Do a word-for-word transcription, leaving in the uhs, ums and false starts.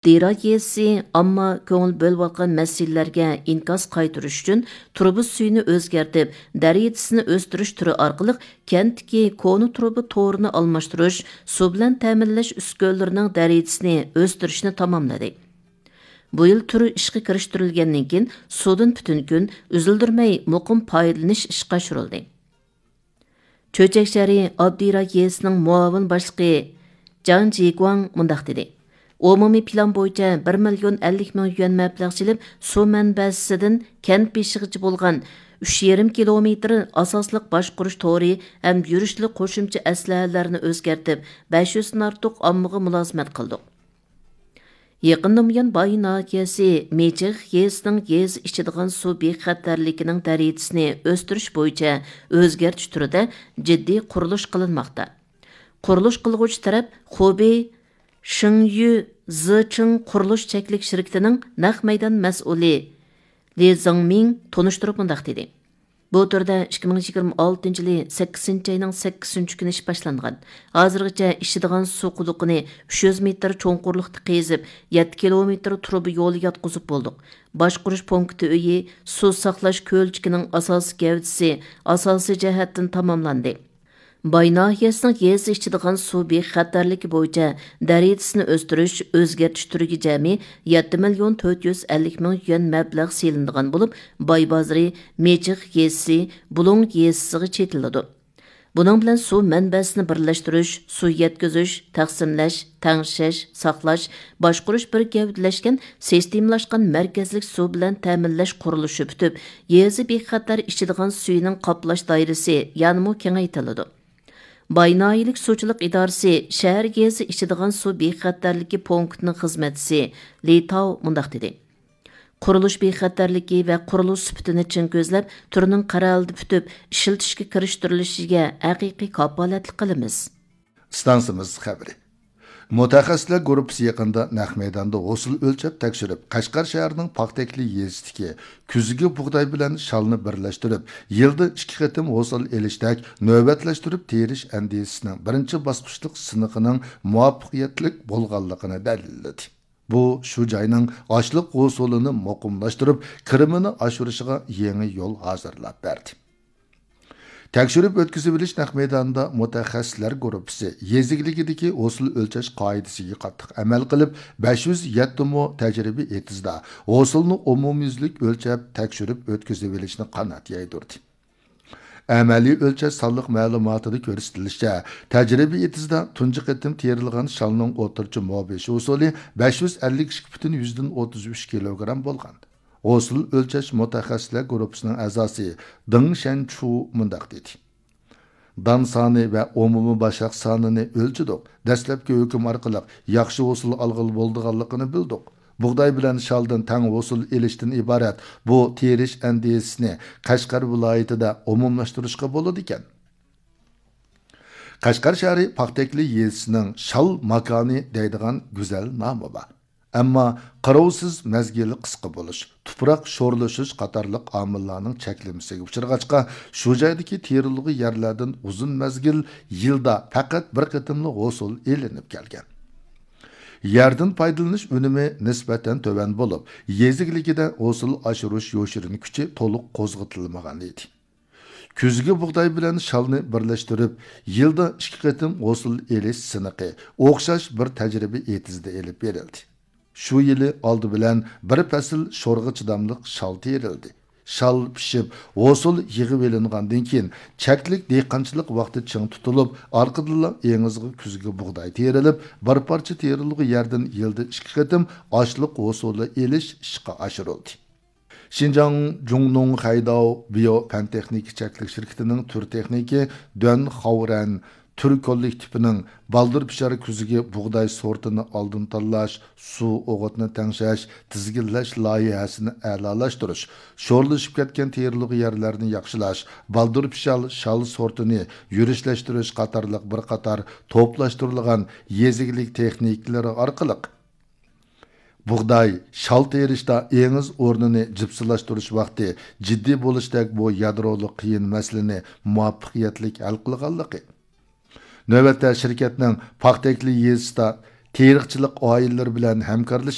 ئابدىراك يېزىسى ئامما كۆڭۈل بۆلۈۋاتقان مەسىلىلەرگە ئىنكاس قايتۇرۇش ئۈچۈن تۇرۇبا سۈيىنى ئۆزگەرتىپ، دەرىجىسىنى ئۆستۈرۈش تۈرى ئارقىلىق كەنتتىكى كونا تۇرۇبا تورىنى ئالماشتۇرۇش، سۇ بىلەن تەمىنلەش ئۈسكۈنىلىرىنىڭ دەرىجىسىنى ئۆستۈرۈشنى تاماملىدى. بۇ يىل تۈر ئىشقا كىرىشتۈرۈلگەندىن كېيىن، سۇدىن پۈتۈن كۈن، ئۈزۈلدۈرمەي مۇقىم پايدىلىنىش ئىشقا ئاشۇرۇلدى. چۆچەك شەھىرى ئابدىراك يېزىسىنىڭ مۇئاۋىن باشلىقى جاڭ جىگۇاڭ مۇنداق دېدى: ئومۇمىي پىلان بويىچە بىر مىليون ئەللىك مىڭ يۈەن مەبلەغ سېلىپ، سۇ مەنبەسىدىن كەنت بېشىغىچە بولغان ئۈچ يېرىم كىلومېتىر ئاساسلىق باشقۇرۇش تورى ھەم يۈرۈشلۈك قوشۇمچە ئەسلىھەلەرنى ئۆزگەرتىپ، بەش يۈزدىن ئارتۇق ئاممىغا مۇلازىمەت قىلدۇق. يېقىندىن بۇيان باي ناھىيەسى مىچىخ يېزىسىنىڭ يېزا ئىچىدىغان سۇ بىخەتەرلىكىنىڭ دەرىجىسىنى ئۆستۈرۈش بويىچە ئۆزگەرتىش تۈرىدە جىددىي قۇرۇلۇش قىلىنماقتا. قۇرۇلۇش قىلغۇچى تەرەپ خۇبېي شېڭيۈ زىچىڭ قۇرۇلۇش چەكلىك شىركىتىنىڭ نەق مەيدان مەسئۇلى لى زېڭمىڭ تونۇشتۇرۇپ مۇنداق دېدى: بۇ تۈردە ئىككى مىڭ يىگىرمە ئالتىنچى يىلى سەككىزىنچى ئاينىڭ سەككىزىنچى كۈنى ئىش باشلانغان. ھازىرغىچە ئىچىدىغان سۇ قۇدۇقىنى ئۈچ يۈز مېتىر چوڭقۇرلۇقتا قېزىپ، يەتتە كىلومېتىر تۇرۇبا يولى ياتقۇزۇپ بولدۇق. باشقۇرۇش پونكىتى ئۆيى، سۇ ساقلاش كۆلچىكىنىڭ ئاساسىي گەۋدىسى ئاساسىي جەھەتتىن تاماملاندى. باي ناھىيەسىنىڭ يېزا ئىچىدىغان سۇ بىخەتەرلىكى بويىچە دەرىجىسىنى ئۆستۈرۈش، ئۆزگەرتىش تۈرىگە جەمئىي يەتتە مىليون تۆت يۈز ئەللىك مىڭ يۈەن مەبلەغ سېلىنىدىغان بولۇپ، باي بازىرى، مېچىخ يېزىسى، بۇلۇڭ يېزىسىغا چېتىلىدۇ. بۇنىڭ بىلەن سۇ مەنبەسىنى بىرلەشتۈرۈش، سۇ يەتكۈزۈش، تەقسىملەش، تەڭشەش، ساقلاش، باشقۇرۇش بىر گەۋدىلەشكەن سىستېمىلاشقان مەركەزلىك سۇ بىلەن تەمىنلەش قۇرۇلۇشى پۈتۈپ، يېزا بىخەتەر ئىچىدىغان سۈيىنىڭ قاپلاش دائىرىسى يەنىمۇ كېڭەيتىلىدۇ. باي ناھىيەلىك سۇچىلىق ئىدارىسى شەھەر يېزا ئىچىدىغان سۇ بىخەتەرلىكى پونكىتىنىڭ خىزمەتچىسى لى تاۋ مۇنداق دېدى: قۇرۇلۇش بىخەتەرلىكى ۋە قۇرۇلۇش سۈپىتىنى چىڭ كۆزلەپ، تۈرنىڭ قەرەلدە پۈتۈپ، ئىشلىتىشكە كىرىشتۈرۈلۈشىگە ھەقىقىي كاپالەتلىك قىلىمىز. ئىستانسىمىز خەۋىرى. مۇتەخەسسىسلەر گۇرۇپپىسى يېقىندا نەق مەيداندا ھوسۇل ئۆلچەپ تەكشۈرۈپ، قەشقەر شەھىرىنىڭ پاختەكلى يېزىسىدىكى كۈزگى بۇغداي بىلەن شالنى بىرلەشتۈرۈپ، يىلدا ئىككى قېتىم ھوسۇل ئېلىشتەك نۆۋەتلەشتۈرۈپ تېرىش ئەندىزىسىنىڭ بىرىنچى باسقۇچلۇق سىنىقىنىڭ مۇۋەپپەقىيەتلىك بولغانلىقىنى دەلىللىدى. بۇ شۇ جاينىڭ ئاشلىق ھوسۇلىنى مۇقىملاشتۇرۇپ، كىرىمىنى ئاشۇرۇشىغا يېڭى يول ھازىرلاپ بەردى. تەكشۈرۈپ ئۆتكۈزۈۋېلىش نەق مەيدانىدا مۇتەخەسسىسلەر گۇرۇپپىسى يېزا ئىگىلىكىدىكى ھوسۇل ئۆلچەش قائىدىسىگە قاتتىق ئەمەل قىلىپ، بەش يۈز يەتتە مو تەجرىبە ئېتىزدا ھوسۇلنى ئومۇميۈزلۈك ئۆلچەپ، تەكشۈرۈپ ئۆتكۈزۈۋېلىشنى قانات يايدۇردى. ئەمەلىي ئۆلچەش سانلىق مەلۇماتىدا كۆرسىتىلىشىچە، تەجرىبە ئېتىزدا تۇنجى قېتىم تېرىلغان شالنىڭ ئوتتۇرىچە مو بېشى ھوسۇلى بەش يۈز ئەللىك ئىككى پۈتۈن يۈزدىن ئوتتۇز ئۈچ كىلوگرام بولغان. ھوسۇل ئۆلچەش مۇتەخەسسىسلەر گۇرۇپپىسىنىڭ ئەزاسى دېڭ شەنچۇ مۇنداق دېدى: دان سانى ۋە ئومۇمىي باشاق سانىنى ئۆلچىدۇق. دەسلەپكى ھۆكۈم ئارقىلىق ياخشى ھوسۇل ئالغىلى بولىدىغانلىقىنى بىلدۇق. بۇغداي بىلەن شالدىن تەڭ ھوسۇل ئېلىشتىن ئىبارەت بۇ تېرىش ئەندىزىسىنى قەشقەر ۋىلايىتىدە ئومۇملاشتۇرۇشقا بولىدىكەن. قەشقەر شەھىرى پاختەكلى يېزىسىنىڭ شال ماكانى دەيدىغان گۈزەل نامى بار. ئەمما قاراۋسىز مەزگىلى قىسقا بولۇش، تۇپراق شورلىشىش قاتارلىق ئامىللارنىڭ چەكلىمىسىگە ئۇچرىغاچقا، شۇ جايدىكى تېرىلغۇ يەرلەردىن ئۇزۇن مەزگىل يىلدا پەقەت بىر قېتىملا ھوسۇل ئېلىنىپ كەلگەن. يەردىن پايدىلىنىش ئۈنۈمى نىسبەتەن تۆۋەن بولۇپ، يېزا ئىگىلىكىدە ھوسۇل ئاشۇرۇش يوشۇرۇن كۈچى تولۇق قوزغىتىلمىغان ئىدى. كۈزگى بۇغداي بىلەن شالنى بىرلەشتۈرۈپ، يىلدا ئىككى قېتىم ھوسۇل ئېلىش سىنىقى ئوخشاش بىر تەجرىبە ئېتىزىدە ئېلىپ بېرىلدى. شۇ يىلى ئالدى بىلەن بىر پەسىل شورغا چىداملىق شال تېرىلدى. شال پىشىپ، ھوسۇل يىغىۋېلىنغاندىن كېيىن، چەكلىك دېھقانچىلىق ۋاقتى چىڭ تۇتۇلۇپ، ئارقىدىنلا ئېڭىزغا كۈزگى بۇغداي تېرىلىپ، بىر پارچە تېرىلغۇ يەردىن يىلدا ئىككى قېتىم ئاشلىق ھوسۇلى ئېلىش ئىشقا ئاشۇرۇلدى. شىنجاڭ جۇڭنۇڭ خەيداۋ بىيو پەن تېخنىكا چەكلىك شىركىتىنىڭ تۈر تېخنىكى دۈەن خاۋرەن تۈر كوللېكتىپىنىڭ بالدۇر پىشار كۈزگى بۇغداي سورتىنى ئالدىن تاللاش، سۇ ئوغۇتنى تەڭشەش، تىزگىنلەش لايىھەسىنى ئەلالاشتۇرۇش، شورلىشىپ كەتكەن تېرىلغۇ يەرلەرنى ياخشىلاش، بالدۇر پىشار شال سورتىنى يۈرۈشلەشتۈرۈش قاتارلىق بىر قاتار توپلاشتۇرۇلغان يېزا ئىگىلىك تېخنىكىلىرى ئارقىلىق، بۇغداي، شال تېرىشتا ئېڭىز ئورنىنى جىپسىلاشتۇرۇش ۋاقتى جىددىي بولۇشتەك بۇ يادرولۇق قىيىن مەسىلىنى مۇۋەپپەقىيەتلىك ھەل قىلغانلىقى، نۆۋەتتە شىركەتنىڭ پاختەكلى يېزىسىدا تېرىقچىلىق ئائىلىلىرى بىلەن ھەمكارلىشىپ،